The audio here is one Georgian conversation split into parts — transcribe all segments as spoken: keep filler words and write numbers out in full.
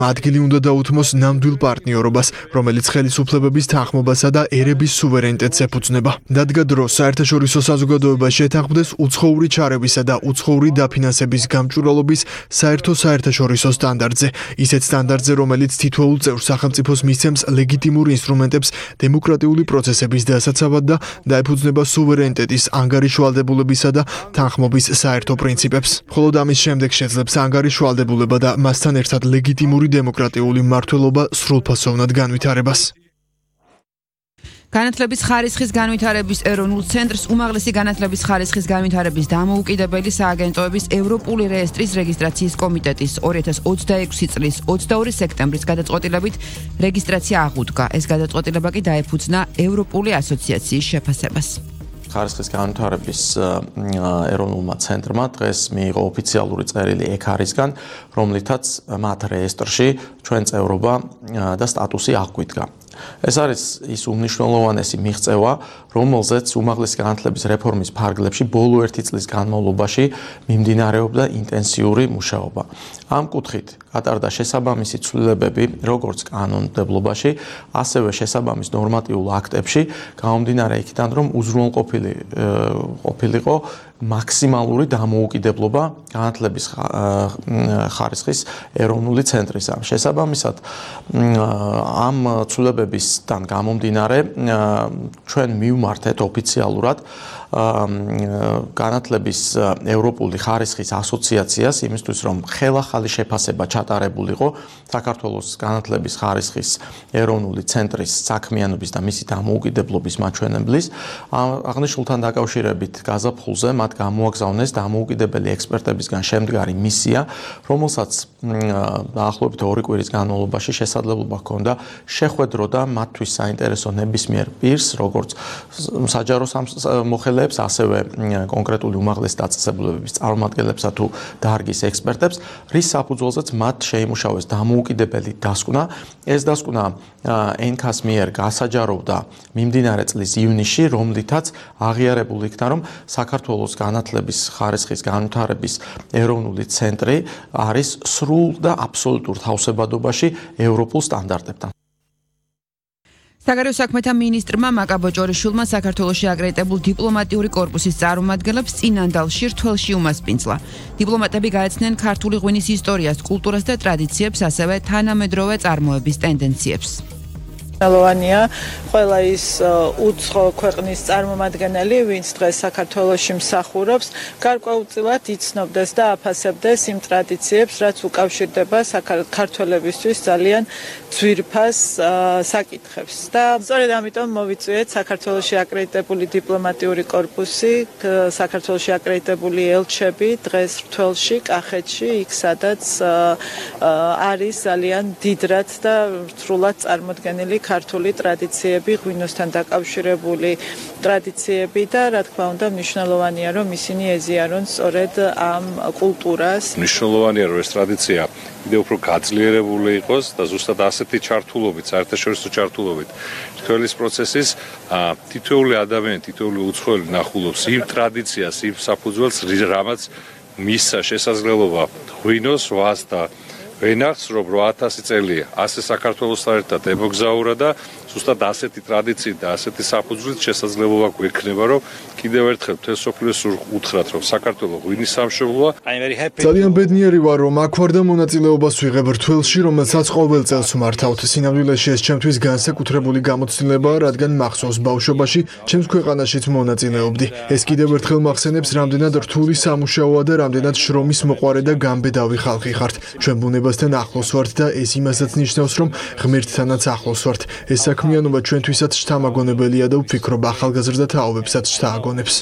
ადგილი უნდა დაუთმოს ნამდვილ პარტნიორობას, რომელიც ხელისუფლებების თანხმობასა და ერების სუვერენიტეტს ეფუძნება. დადგა დრო საერთაშორისო საზოგადოება შეთანხმდეს უცხოური ჩარევისა და უცხოური დაფინანსების გამჭვირვალობის საერთო საერთაშორისო სტანდარტზე, ისეთ სტანდარტზე, რომელიც თითოეულ წევრ სახელმწიფოს მისცემს ლეგიტიმურ ინსტრუმენტებს დემოკრატიული პროცესების დასაცავად და დაეფუძნება სუვერენიტეტის ანგარიშვალდებულებისა და თანხმობის საერთო პრინციპებს. მხოლოდ ამის შემდეგ შეძლებს ანგარიშვალდებულება და მასთან ერთად ლეგიტიმური დემოკრატიული მმართველობა სრულფასოვნად განვითარებას. განათლების ხარისხის განვითარების ეროვნულ ცენტრს უმაღლესი განათლების ხარისხის განვითარების დამოუკიდებელი სააგენტოების ევროპული რეესტრის რეგისტრაციის კომიტეტის ორი ათას ოცდაექვსი წლის ოცდაორი სექტემბრის გადაწყვეტილებით რეგისტრაცია აღუდგა. ეს გადაწყვეტილება კი დაეფუძნა ევროპული ასოციაციის შეფასებას. ხარისხის განვითარების ეროვნულმა ცენტრმა დღეს მიიღო ოფიციალური წერილი ეკარისგან, რომლითაც მათ რეესტრში ჩვენ წევრობა და სტატუსი აღგვიდგა. ეს არის ის უმნიშვნელოვანესი მიღწევა, რომელზეც უმაღლესი განათლების რეფორმის ფარგლებში ბოლო ერთი წლის განმავლობაში მიმდინარეობდა ინტენსიური მუშაობა. ამ კუთხით გატარდა შესაბამისი ცვლილებები როგორც კანონმდებლობაში, ასევე შესაბამის ნორმატიულ აქტებში, გამომდინარე იქიდან, რომ უზრუნველყოფილი ყოფილიყო მაქსიმალური დამოუკიდებლობა განათლების ხარისხის ეროვნული ცენტრისა. შესაბამისად, ამ ცვლილებებისგან გამომდინარე, ჩვენ მივმართეთ ოფიციალურად განათლების ევროპული ხარისხის ასოციაციას იმისთვის, რომ ხელახალი შეფასება ჩატარებულიყო საქართველოს განათლების ხარისხის ეროვნული ცენტრის საქმიანობის და მისი დამოუკიდებლობის მაჩვენებლის. აღნიშნულთან დაკავშირებით გაზაფხულზე მათ გამოაგზავნეს დამოუკიდებელი ექსპერტებისგან შემდგარი მისია, რომელსაც დაახლოებით ორი კვირის განმავლობაში შესაძლებლობა ჰქონდა შეხვედროდა მათთვის საინტერესო ნებისმიერ პირს, როგორც საჯარო მოხელეებს, ასევე კონკრეტული უმაღლესი დაწესებულებების წარმომადგენლებსა თუ დარგის ექსპერტებს, რის საფუძველზეც მათ შეიმუშავეს დამოუკიდებელი დასკვნა. ეს დასკვნა ენქას მიერ გასაჯაროვდა მიმდინარე წლის ივნისში, რომლითაც აღიარებულ იქნა, რომ საქართველოს განათლების ხარისხის განვითარების ეროვნული ცენტრი არის სრულ და აბსოლუტურ თავსებადობაში ევროპულ სტანდარტებთან. საგარეო საქმეთა მინისტრმა მაკაბო ჭორიშვილმა საქართველოში აკრედიტებულ დიპლომატიური კორპუსის წარმომადგენლებს წინანდალში რთველში უმასპინძლა. დიპლომატები გაეცნენ ქართული ღვინის ისტორიას, კულტურას და ტრადიციებს, ასევე თანამედროვე წარმოების ტენდენციებს. Ნალოვანია ყველა ის უცხო ქვეყნის წარმომადგენელი, ვინც დღეს საქართველოში მსახურობს, გარკვეულწილად იცნობდეს და აფასებდეს იმ ტრადიციებს, რაც უკავშირდება საქართველებისთვის ძალიან ძვირფას საკითხებს. და სწორედ ამიტომ მოვიწვიეთ საქართველოში აკრედიტებული დიპლომატიური კორპუსი, საქართველოში აკრედიტებული ელჩები დღეს რთველში, კახეთში, იქ სადაც არის ძალიან დიდრად და რთულად წარმოდგენილი ქართული ტრადიციები, ღვინოსთან დაკავშირებული ტრადიციები და რა თქმა უნდა მნიშვნელოვანია, რომ ისინი ეზიარონ სწორედ ამ კულტურას. მნიშვნელოვანია, რომ ეს ტრადიცია კიდევ უფრო გაძლიერებული იყოს და ზუსტად ასეთი ჩართულობით, საერთაშორისო ჩართულობით რთველის პროცესის თითოეული ადამიანი, თითოეული უცხოელი ნახულობს იმ ტრადიციას, იმ საფუძველს, რამაც მისცა შესაძლებლობა ღვინოს ვას და ვენახს, რომ რვა ათასი წელია ასე საქართველოსთან ერთად ემოგზაურა და ზუსტად ასეთი ტრადიციით და ასეთი საფუძვლით შესაძლებლობა გვექნება, რომ კიდევ ერთხელ მთელ სოფლიოს უთხრათ, რომ საქართველო ღვინის სამშობლოა. ძალიან ბედნიერი ვარ, რომ აქ ვარ და მონაწილეობას ვიღებ რთველში, რომელსაც ყოველ წელს ვმართავთ. სინამდვილეში ეს ჩემთვის განსაკუთრებული გამოცდილებაა, რადგან მახსოვს ბავშვობაში ჩემს ქვეყანაშიც მონაწილეობდი. ეს კიდევ ერთხელ მახსენებს, რამდენად რთული სამუშაოა და რამდენად შრომის მოყვარე და გამბედავი ხალხი ხართ. ჩვენ ბუნებასთან ახლოს ვართ და ეს იმასაც ნიშნავს, რომ ღმერთთანაც ახლოს ვართ. ეს საქმიანობა ჩვენთვისაც შთამაგონებელია და ვფიქრობ ახალგაზრდა თაობებსაც შთააგონებს.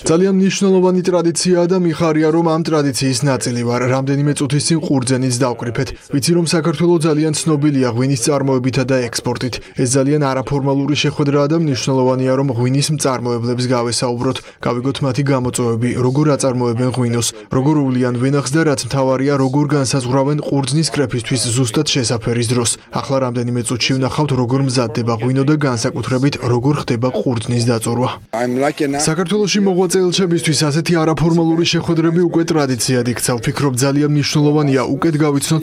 ძალიან მნიშვნელოვანი ტრადიციაა და მიხარია, რომ ამ ტრადიციის ნაწილი ვარ. რამდენიმე წუთის წინ ყურძენიც დავკრიფეთ. ვიცი, რომ საქართველო ძალიან ცნობილია ღვინის წარმოებითა და ექსპორტით. ეს ძალიან არაფორმალური შეხვედრაა და მნიშვნელოვანია, რომ ღვინის მწარმოებლებს გავესაუბროთ, გავიგოთ მათი გამოწვევები, როგორ აწარმოებენ ღვინოს, როგორ უვლიან ვენახს და რაც მთავარია, როგორ განსაზღვრავენ ყურძნის კრეფისთვის ზუსტად შესაფერის დროს. ახლა რამდენიმე წუთში ვნახავთ, როგორ მზადდება ღვინო და განსაკუთრებით, როგორ ხდება ყურძნის დაწურვა. საქართველოში მოღვაწე ელჩებისთვის ასეთი არაფორმალური შეხვედრები უკვე ტრადიციად იქცა. ვფიქრობ ძალიან მნიშვნელოვანია უკეთ გავიცნოთ